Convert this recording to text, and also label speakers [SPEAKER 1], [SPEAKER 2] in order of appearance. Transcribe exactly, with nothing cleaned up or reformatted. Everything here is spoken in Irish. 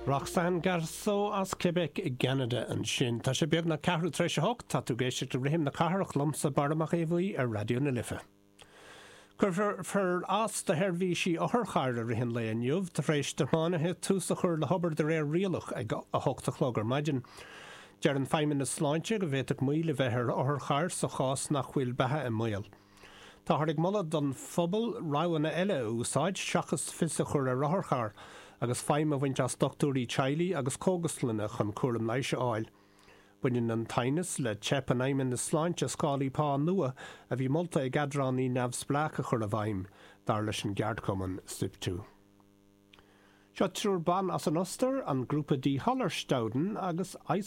[SPEAKER 1] Roxanne Garceau as Quebec i gCeanada ansin. Tá sé beagnach ceathrú tar éis a hocht tá tú ag éisteacht le Rithim na Cathrach liomsa Barra Mac Aodha ar Raidió na Life. Cuirfear as do sheirbhísí otharchairr i rith an lae inniu tar éis do thiománaithe tús a chur le hobair de réir rialach ag a hocht a chlog ar maidin. Deir an Feidhmeannas Sláinte go bhféadfadh moill a bheith ar otharchairr sa chás nach bhfuil beatha i mbaol. Táthar ag moladh don phobal roghanna eile a úsáid seachas fios a chur ar otharcharr agus feidhm a bhaint as dochtúirí teaghlaigh agus cógaslanna chun cúram leighis a fháil. Baineann an t-aighneas le teip an Fheidhmeannais Sláinte scálaí pá nua a bhí molta ag eadránaí neamhspleách a chur i bhfeidhm dar leis an gceardchumann SIPTU. Seo triúr ban as an Ostair an grúpa Die Hallerstauden agus